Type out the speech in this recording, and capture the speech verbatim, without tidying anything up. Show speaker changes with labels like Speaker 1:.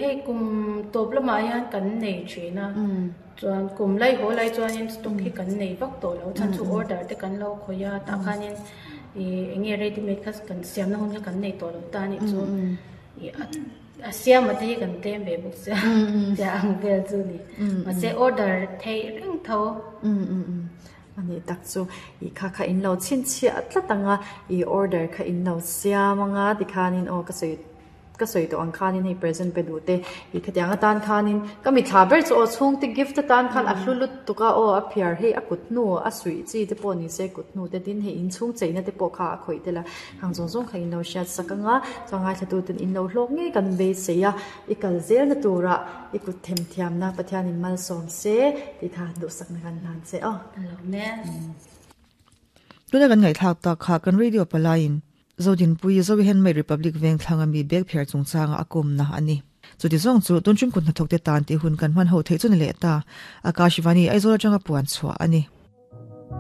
Speaker 1: Hei kum tawp lamah hian kan nei thin a, chuan kum lai haw lai chuanin stock hi kan nei vak tawh lo, chhan chu order te kan lo khawih a, tah khanin ih eng nge ready made kha kan siamna hun kha kan nei tawh lo ta a nih chu ih a siama te hi kan tlem ve bawk sia tia ang vel chu ni, mahse order theih reng tho.
Speaker 2: Ani tak chu ih kha kha in lo chhinchhiah tlat anga ih order kha in lo siam anga tikhanin aw ka sawi ka sawi tawh ang khanin hei present pe duh te ih khatiang atan khanin ka mithla ber chu aw chhungte gift atan khan a hlu lut tuk a aw a phiar hei a kut hnu a suih chi te pawh ni se kut hnu te tin hei inchhung cheina te pawh kha a khawih tel a hang zawng zawng kha in lo hriat sak anga chuan ngaithla tuten in lo hlawk ngei kan beisei a i kal zel na turah i kut themthiamna Pathianin malsawm se tih kha duhsakna kan hlan che aw.
Speaker 3: Tuna kan ngaihthlak tak kha kan radio palaiin Zodinpui Zoe Handmade Republic veng thlanga mi bag phiar chungchanga a kawmna a ni. Chuti zawng chu tun ṭum kut hnathawkte tan tih hun kan hman ho theih chu ni leh ta. Akashvani Aizawl atanga puan chhuah a ni.